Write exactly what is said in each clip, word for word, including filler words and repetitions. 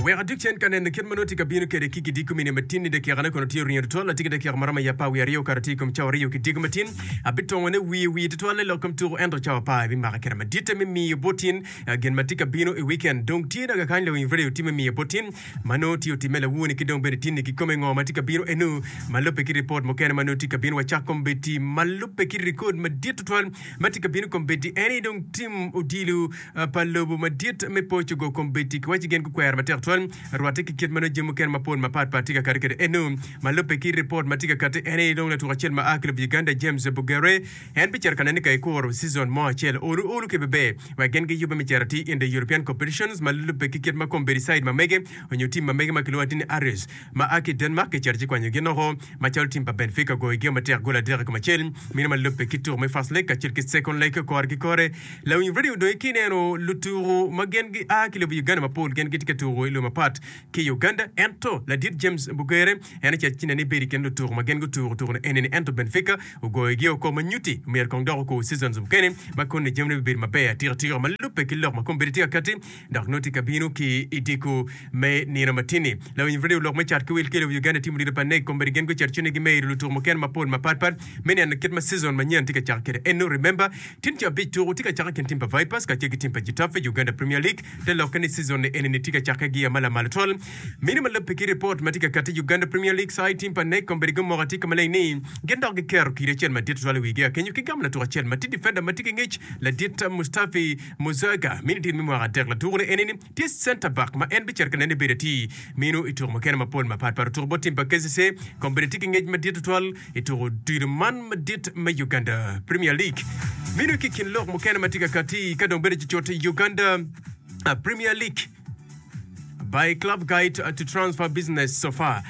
Wek aduk cen ka neno kit ma nongo tye ka bino kwede ki kidiko mine matin ni dakikane kono tye oringo tutwal atye ki dakika ma romo i apar wiye aryo okato tye i kom cawa aryo kidiko matin abitongone wiye wiye tutwal i lok kom tuko ento cawa apar ebimaka kede maditte me miyo bot in gin ma tye ka bino i weekend dong tye naga kany lawiny radio tye me miyo bot in ma nongo tye otimme lawoni ki dong bene tinni kikome ngo ma tye ka bino enu ma lubbe ki ripot mukene ma nongo tye ka bino wacak kombeddi ma lubbe ki rekod madit tutwal ma tye ka bino kombeddi en aye dong tim odilo pa lobo madit me Portugal kombeddi kiwaci gin gukwero matek tutwal rwatte ki kit ma nongo jami mukene mapol mapat pat tye ka kati kwede eno ma lubbe ki ripot ma tye ka kati en aye dong latuk acel ma a ki lobo Uganda James Bugere en bicito ka nene ka ekuro season mo acel olu olu ki beber wek gin giyubbe me cito atir in the European competitions ma lubbe ki kit ma kombeddi side ma mege onyo team ma mege ma kilwongo atir ni Aris ma a ki Denmark kicito ci kwanyo gin oko macalo team pa Benfica ogoyo gio matek gol adek i kom acel meno ma lubbe ki tuko me first leg kacel ki second leg kore ki kore Lawiny radio dong ki ineno lutuku ma gin gia ki lobo Uganda mapol gin gitye ka tuku i lobo mapat ki Uganda ento ladit James Bugere en ocito ci nene bedo i kin lutuku ma gin gutuku tuku ni enini ento Benfica ogoyogi oko ma nyuti myero kong dok okur seasons mukene ma koni jamine bibedo maber atika tika ma lubbe ki lok ma kombeddi tye ka kati dok nongo tye ka bino ki i diko me nino matini. Lawiny radio lok me cat ki wil ki lobo Uganda timo dito pa NEC kombeddi gin gucito ci ni gimedo lutuku mukene mapol mapat pat me neno kit ma season manyen tye ka cako kwede eno remember Tin ca abic tuku tye ka cake kin tim pa Vipers kacel ki tim pa Getafe Uganda Premier League te lokke ni season ni eni ni tye ka cake giya ma lamal twal. Mine ma lubbe ki ripot ma tye ka kati Uganda Premier League side tim pa NEC kombeddi gumoko atika maleng ni gin dok giketo kidi acel madit tutwal i wigi akenyo ki gamo latuk acel ma tye defender ma tye ki ngec ladit Mustafi Muzaga mini tin me mwaka adek latuku ni eni ni tye center back ma en bicito ka nene bedo atir mino i tuko mukene mapol mapat pat otuko bot tim pa K C C kombeddi tye ki ngec madit tutwal i tuko odilo man madit me Uganda Premier League. Mino ki kin lok mukene ma tye ka kati ka dong bedo cucut i Uganda Premier League by Club Guide to Transfer Business so far.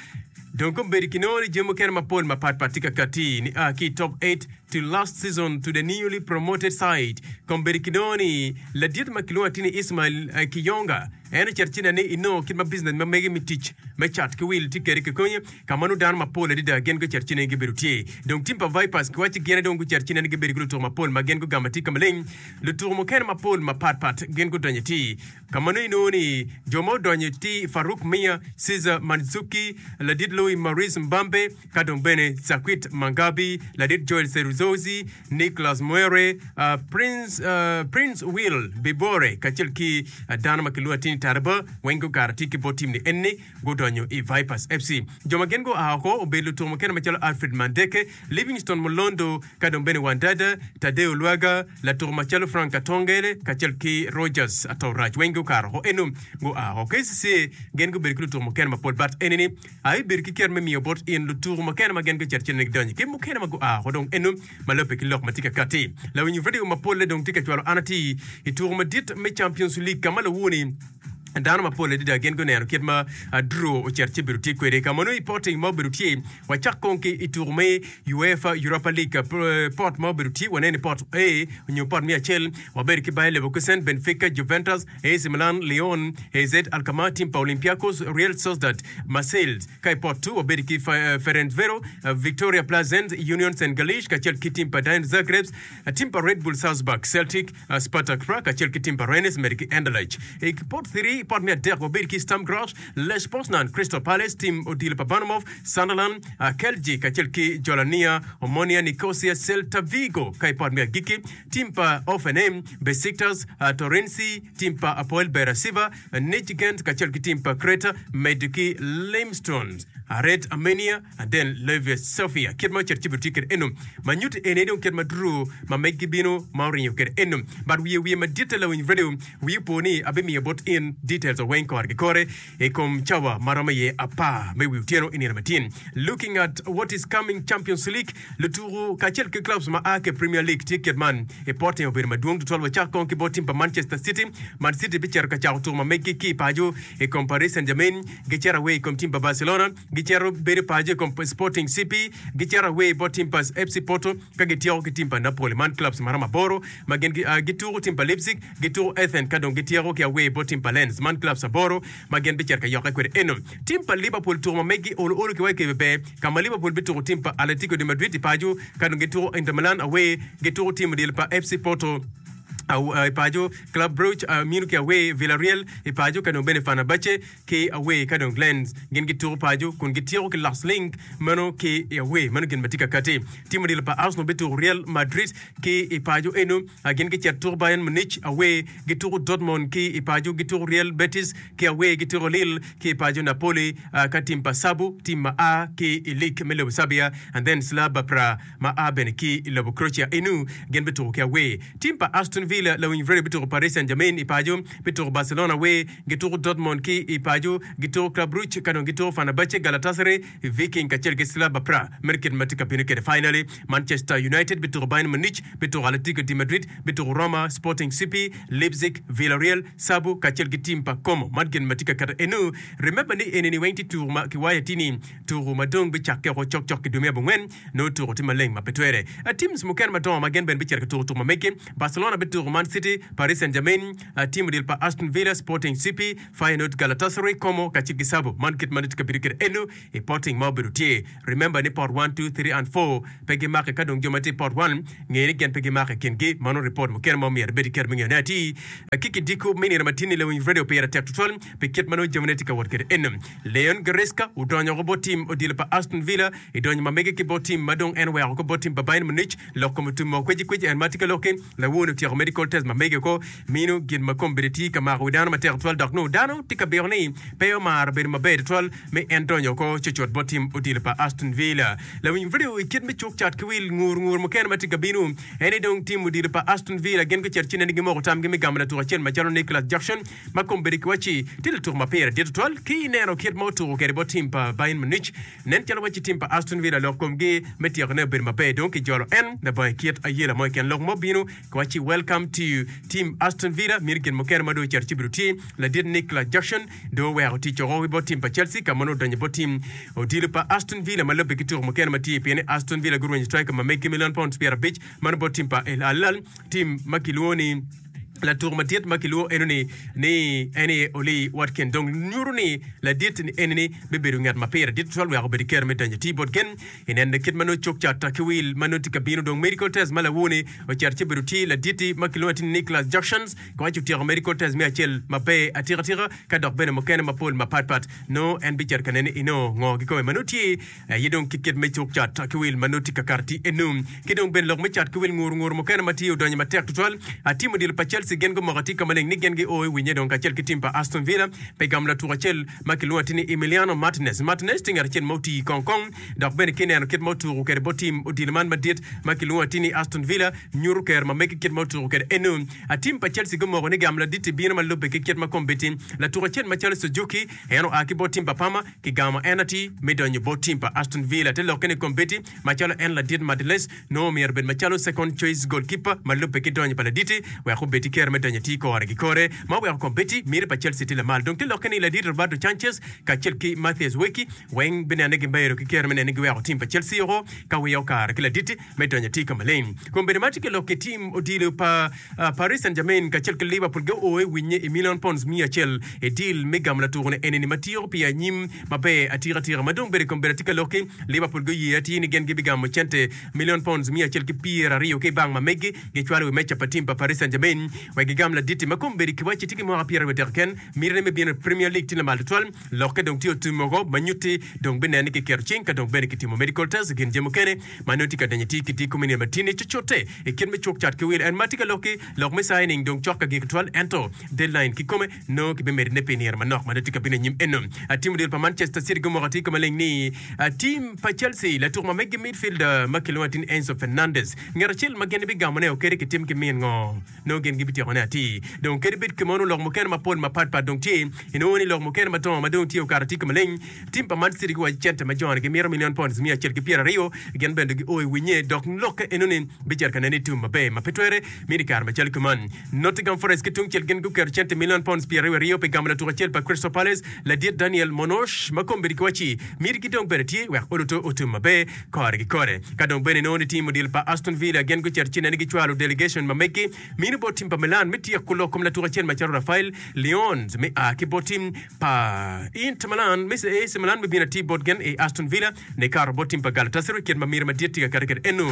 Dong kombeddi kinongo ni jami mukene mapol mapat pat tye ka kati ni a ki i top eight to last season to the newly promoted side. Kombeddi kinongo ni ladit ma kilwongo atir ni Ismail Kiyonga En ocito ci nene inongo kit ma business ma mege me tic me cat ki wil tye kwede kikonye ka ma nongo dano mapol adada gin gucito ci nene gibedo tye. Dong tim pa Vipers giwacci gin aye dong gucito ci nene gibedo ki lutuku mapol ma gin gugamo atika maleng. Lutuku mukene mapol mapat pat gin gudonyo atir ka ma nongo inongo ni jo ma odonyo tye Farouk Miya, Cesar Manzuki, ladit Louis Maurice Mbambe ka dong bene Zakwit Mangabi, ladit Joel Seruzozi, Nicholas Mwere, Prince, Prince Will Bibore kacel ki dano ma kilwongo atir ni Taraba weng gukato atir ki bot tim ni enni gudonyo i Vipers F C. Jo ma gin gua oko obedo lutuku mukene macalo Alfred Mandeke, Livingstone Mulondo ka dong bene Wandada, Tadeo Lwaga, latuku macalo Frank Katongele kacel ki Rogers Atorac weng gukato oko eno gua oko. K C C A gin gubedo ki lutuku mukene mapol but enini aye bedo ki ker me miyo bot in lutuku mukene ma gin gucito cen ni gidonyo ki mukene ma gua oko dong eno ma lubbe ki lok ma tye ka katti. Lawiny radio mapolle dong tye ka cwalo an atir i tuko madit me Champions League ka ma lawoni dano mapol adada gin guneno kit ma draw ocito ci obedo tye kwede ka ma nongo i potting ma obedo tye. Wacak kong ki i tuko me UEFA Europa League pot ma obedo tye waneno i pot A nyo pot me acel wabedo ki Bayer Leverkusen, Benfica, Juventus, A C Milan, Lyon, A Z Alkmaar, team pa Olympiacos, Real Sociedad, Marseille. Ka i pot two wabedo ki Ferencvero, Victoria Plzen, Union Saint Galice kacel ki tim pa Dinamo Zagreb, tim pa Red Bull Salzburg, Celtic, Spartak Prague kacel ki tim pa Rennes medo ki Anderlecht. I pot three, pot me adek wabedo ki Sturm Graz, Lech Poznan, Crystal Palace, tim odilo pa Bournemouth, Sunderland, Celje kacel ki Jolania, Omonia Nicosia, Celta Vigo. Ka i pot me agikki, tim pa Hoffenheim, Besiktas, Torreense, tim pa Apoel Beersheva, Nijgent kacel ki tim pa Creta medo ki Limestone, Red Armenia, and then Levia Sofia. Kit ma ocito ci bedo tye kwede eno ma nyuto eni dong kit ma draw ma meggi bino ma oringo kwede eno. But wiye wiye maditte lawiny radio wiyi opo ni abimiyo bot in details weng kore ki kore i kom cawa ma romo iye apar me wi otyeno i nino matin. Looking at what is coming Champions League lutuku kacel ki clubs ma a ki Premier League tye kit man i pote obedo madwong tutwal wacak kong ki bot tim pa Manchester City. Man City bicito ka cako tuko ma meggi ki i paco i kom Paris Saint-Germain, gicito away i kom tim pa Barcelona, gicito bedo paco i kom Sporting C P, gicito away bot tim pa F C Porto ka gityeko ki tim pa Napoli. Man clubs ma romo aboro ma gin gituko tim pa Leipzig, gituko Athens ka dong gityeko ki away bot tim pa Lens. Man clubs aboro ma gin bicito ka yokke kwede eno. Tim pa Liverpool tuko ma meggi olo olo ki wa i kebe ber ka ma Liverpool bituko tim pa Atletico de Madrid i paco ka dong gituko Inter Milan away, gituko tim odilo pa F C Porto I paco Club Brugge mino ki away Villarreal i paco ka dong bene Fenerbahce ki away ka dong Lens gin gituko paco kun gityeko ki Las Link meno ki i away meno gin ma tye ka kati. Tim odilo pa Arsenal bituko Real Madrid ki i paco eno gin gicito tuko Bayern Munich away gituko Dortmund ki i paco gituko Real Betis ki away gituko Lille ki i paco Napoli ka tim pa Sabu tim ma a ki i league me lobo Serbia and then Slava Praha ma a bene ki i lobo Croatia eno gin bituko ki away. Tim pa Aston Villa lawiny Vrede bituko Paris Saint-Germain i paco bituko Barcelona away gituko Dortmund ki i paco gituko Club Brugge ka dong gituko Fenerbahce Galatasaray Viking kacel ki Slava Praha meno kit ma tye ka bino kwede. Finally Manchester United bituko Bayern Munich bituko Atletico de Madrid bituko Roma Sporting C P Leipzig Villarreal Sabu kacel ki tim pa Como man gin ma tye ka keto eno. Remember ni enini weng tye tuko ma kiwayo tye ni tuko ma dong bicakke oko cokcok ki dwe me abongwen nongo tuko tye maleng ma pe twere. Teams mukene madongo ma gin bene bicito ka tuko tuko ma megi Barcelona bituko Man City Paris Saint-Germain tim odilo pa Aston Villa Sporting C P Feyenoord Galatasaray Como kacel ki Sabu man kit ma nongo tye ka bedo kwede eno i potting ma obedo tye. Remember ni pot one, two, three and four pe gimake ka dong jo ma tye i pot one nge ni gin pe gimake i kingi mano report mukene ma omyero ibed ki kero me ngeyone atir. Ki kidiko me nino matini lawiny radio pire tek tutwal pi kit ma nongo jamine tye ka wot kwede eno. Leon Goretzka odonyo oko bot tim odilo pa Aston Villa idonyo ma mege ki bot tim ma dong en oweko ko bot tim pa Bayern Munich lok kom otum mo kweci kweci en ma tye ka lokki lawon otyeko medical test ma mege ko mino gin ma kombeddi tye ka mako wi dano matek tutwal dok nongo dano tye ka biko ni pe omaro bedo maber tutwal me en donyo oko cucut bot tim odilo pa Aston Villa. Lawiny radio i kit me cuk cat ki wil ngur ngur mukene ma tye ka bino en ni dong tim odilo pa Aston Villa gin gucito ci nene gimoko tamgi me gamo latuk acel macalo Nicolas Jackson ma kombeddi kiwacci tye latuk ma pire dit tutwal ki ineno kit ma otuko kwede bot tim pa Bayern Munich nen calo wacci tim pa Aston Villa lok komgi me tyekone obedo maber dong kijolo en labongo kit ayela mo keken lok mo bino kiwacci welcome to team Aston Villa mito gin mukene ma dong ocito ci bedo tye ladit Nicolas Jackson dong oweko tic oko ki bot tim pa Chelsea ka ma nongo odonyo bot tim odilo pa Aston Villa ma lubbe ki tuko mukene ma tye pien ni Aston Villa gurwenyo striker ma megi million pounds pyerabic mano bot tim pa El Hilal tim ma kilwongo ni latuk madit ma kilwongo eno ni ni en aye Oli Watkins dong nyuto ni ladit ni eni ni bibedo ngat ma pire dit tutwal wek obed ki kero me donyo ti bot gen inene kit ma nongo cuk cat ki wil ma nongo tye ka bino dong medical test ma lawoni ocito ci bedo tye laditi ma kilwongo atir ni Nicolas Jackson kiwaco otyeko medical test me acel maber atika tika ka dok bene mukene mapol mapatpat nongo en bicito ka nene ino ngo kikome ma nongo tye aye dong ki kit me cuk cat ki wil ma nongo tye ka kato ti eno ki dong bene lok me cat ki wil ngur ngur mukene ma tye odonyo matek tutwal atimo odilo pa Chelsea gin gumoko atir ka maleng ni gin gio i winye dong kacel ki tim pa Aston Villa pe gamo latuk acel ma kilwongo atir ni Emiliano Martinez. Martinez tye ngat acel ma otii kong kong dok bene ki neno kit ma otuko kwede bot tim odilo man madit ma kilwongo atir ni Aston Villa nyuto ker ma megi kit ma otuko kwede eno. Atim pa Chelsea gumoko ni gamo ladit-ti bino ma lubbe ki kit ma kombeddi latuk acel macalo Suzuki en oa ki bot tim pa Parma kigamo en atir me donyo bot tim pa Aston Villa te lokke ni kombeddi macalo en ladit Martinez nongo myero obed macalo second choice goalkeeper ma lubbe ki donyo pa ladit-ti wek obed ki kero me donyo atir kore ki kore ma oweko kombeddi miti pa Chelsea tye lamal dong te lokke ni ladit Roberto Sanchez kacel ki Mathias Weki weng binene gibedo ki kero me nene giweko tim pa Chelsea oko ka wiye okaro ki ladit me donyo atir ka maleng. Kombeddi ma tye ki lok ki tim odilo pa Paris Saint-Germain kacel ki Liverpool guo i winye i million pounds miya acel i deal me gamo latukone enini ma tiko pi anyim maber atika tika ma dong bedo i kombeddi atye ka lok ki Liverpool guye atir ni gin gibigamo cente million pounds miya acel ki pyeraryo ki i bank ma megi gicwalo i wi meja pa tim pa Paris Saint-Germain wek gigam ladit-ti ma kombeddi kiwacci tye ki mwaka pyeraryo adek keken mitine me bino i Premier League tye lamal tutwal lokke dong tye otum woko ma nyutti dong binene ni kiketo cing ka dong bene kitimo medical test gin jami mukene ma nongo tye ka donyo atir ki tye kome nino matini cucute i kit me cuk cat ki wil en ma tye ka lok ki lok me signing dong cok ka gik tutwal ento deadline kikome nongo kibimedone pi nino manok ma nongo tye ka bino anyim eno. Tim odilo pa Manchester City gumoko atir ka maleng ni tim pa Chelsea latuk ma megi midfielder ma kilwongo atir ni Enzo Fernandez ngat acel ma gin gibigamone kadi kitim ki min ngo nongo gin gibityekone atir dong kadi bed kimono lok mukene mapol mapatpat dong tye inongo ni lok mukene madongo ma dong tye okato atir ka maleng tim pa Man City guwaco cente ma joni gimito million pounds miya acel ki pyeraryo gin bene gio i winye dok lokke enoni bicito ka nene i tum maber ma pe twere mini kare macalo kuman. Nottingham Forest ki tungcel gin guketo cente million pounds pyeraryo aryo pi gamo latuk acel pa Crystal Palace ladit Daniel Monosh ma kombeddi kiwacci mitigi dong bene tye wek oluto otum maber kore ki kore. Ka dong bene inongo ni tim odilo pa Aston Villa gin gucito ci nene gicwalo delegation ma megi mino bot tim pa Milan me tyeko lok kom latuk acel macalo Rafael Leons me a ki bot tim pa Inter Milan me A C Milan me bino atir bot gin i Aston Villa nikato bot tim pa Galatasaray kit ma miti madit tye ka kati kwede eno.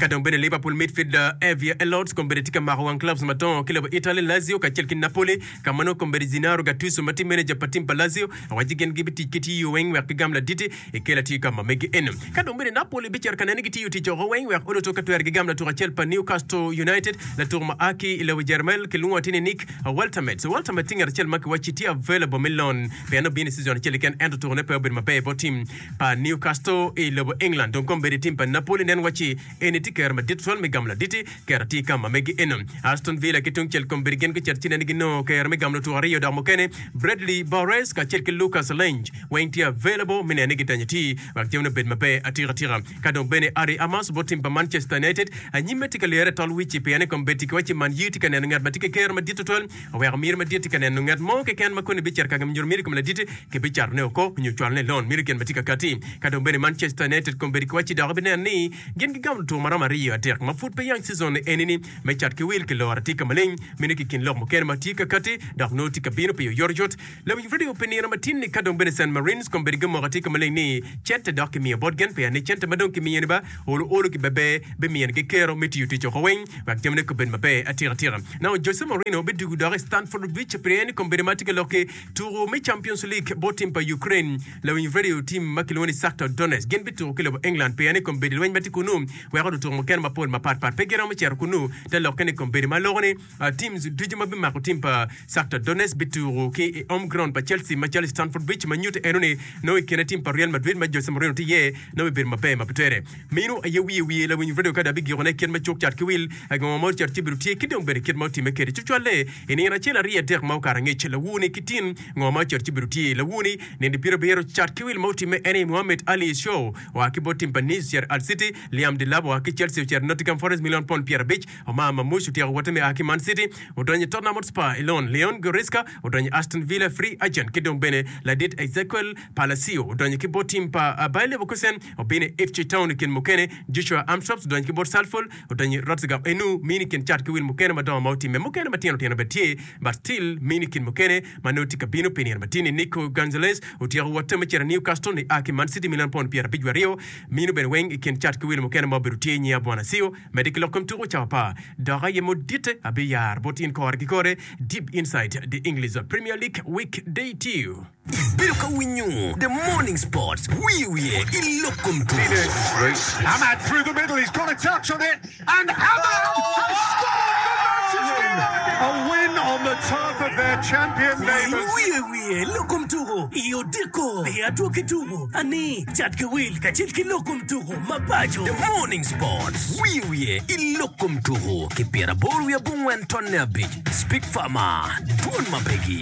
Ka dong bene Liverpool midfielder Harvey Elliott kombeddi tye ka mako wang clubs madongo ki lobo Italy, Lazio kacel ki Napoli ka ma nongo kombeddi Gennaro Gattuso ma tye manager pa tim pa Lazio owaco gin gibitic ki tiyo weng wek gigam laditi i kel atir ka ma megi eno. Ka dong bene Napoli bicito ka nene gitiyo tic oko weng wek oloto ka twero gigam latuko acel pa Newcastle United latuko ma a ki i lobo Jermel kilwongo atir ni Nick Woltemade. Woltemade tye ngat acel ma kiwacci tye available me loan pien obino i season acel keken ento tukone pe obedo maber bot tim pa Newcastle i lobo England. Dong kombeddi tim pa Napoli nen wacci eni tye kero madit tutwal me gamo laditi kero atir ka ma megi eno. Aston Villa ki tungcel kombeddi gin gucito ci nene ginongo kero me gamo lutuko aryo dok mukene Bradley Barnes kacel ki Lucas Lange weng tye available me nene gidanyo ti wek jamine obed maber atika tika. Ka dong bene Harry Amass bot tim pa Manchester United anyimme tye ka lyere tol wici pien ni kombeddi kiwacci Man U tye ka neno ngat ma tye ki kero madit tutwal oweko miti madit tye ka neno ngat mo keken ma koni bicito ka nyuto miti i kom laditi kibicatone oko nyo cwalone i loan miti gin ma tye ka kati. Ka dong bene Manchester United kombeddi kiwacci dok ibineno ni gin gigamo lutuko ma romo aryo adek ma pud pe yang season eni-ni me cat ki wil ki loro atika maleng meno ki kin lok mukene ma tye ka kati dok nongo tye ka bino pi oyotoyot. Lawiny radio pi nino matin-ni ka dong bene San Marines kombeddi gumoko atika maleng ni cente dok kimiyo bot gin pien ni cente ma dong kimiyo ni ba olo olo ki beber bimiyo ni gikero me tiyo tic oko weng wek jamine kubed maber atika tika. Now Jose Mourinho bidwogo dok i Stamford Bridge pien ni kombeddi ma tye ka lok ki tuko me Champions League bot tim pa Ukraine. Lawiny radio tim ma kilwongo ni Shakhtar Donetsk gin bituko ki lobo England pien ni kombeddi lweny ma tye kunu weko lutuko mukene mapol mapat pat pe giromo cito kunu. Te lokke ni kombeddi ma loko ni teams ducu ma bimako tim pa Shakhtar Donetsk bituko ki i home ground pa Chelsea macalo i Stamford Bridge ma nyuto eno ni nongo i kine tim pa Real Madrid ma Jose Mourinho tye iye nongo bibedo maber ma pe twere. Meno aye wiye wiye lawiny radio ka dong abigikone kit ma cuk cat ki wil ngo ma ocito ci bedo tye ki dong bene kit ma otimme kwede cucwalle i nino acel aryo adek ma okato angec lawuni ki tin ngo ma ocito ci bedo tye lawuni nino pyerabiro cat ki wil ma otimme en aye Mohamed Ali Show oa ki bot tim pa Nice ocito Hull City Liam Delap oa ki Chelsea ocito Nottingham Forest million pond pyerabic Omar Marmoush otyeko wotte me a ki Man City odonyo i Tottenham Hotspur i loan Leon Goretzka odonyo i Aston Villa free agent ki dong bene ladit Ezequiel Palacio odonyo ki bot tim pa Bayer Leverkusen obino i Ipswich Town i kin mukene Joshua Armstrong odonyo ki bot Salford odonyo i Rotterdam enu mini kin cat ki wil mukene madongo ma otimme mukene matino tino bene tye but still mini kin mukene ma nongo tye ka bino pi nino matini Nico Gonzalez otyeko wotte me cito i Newcastle ni a ki Man City million pond pyerabic wiye aryo mino bene weng i kin cat ki wil mukene ma obedo tye nyiya Bwana Sio medde ki lok kom tuko cawa pa dok aye moditte abiyaro bot in kore ki kore deep inside the English Premier League week day two. Ibedo ka winyo The Morning Sports wiye wiye i lok kom tuko. Amad through the middle, he's got a touch on it, and Amad has scored for Manchester United! A win on the turf of their champion neighbours. Wiye wiye lok kom tuko i odiko i adwogi tuko ani cat ki wil kacel ki lok kom tuko mabaco. The Morning Sports wiye wiye i lok kom tuko ki pyeraboro wiye abongwen tonne abic Speak Farmer dwon ma pegi.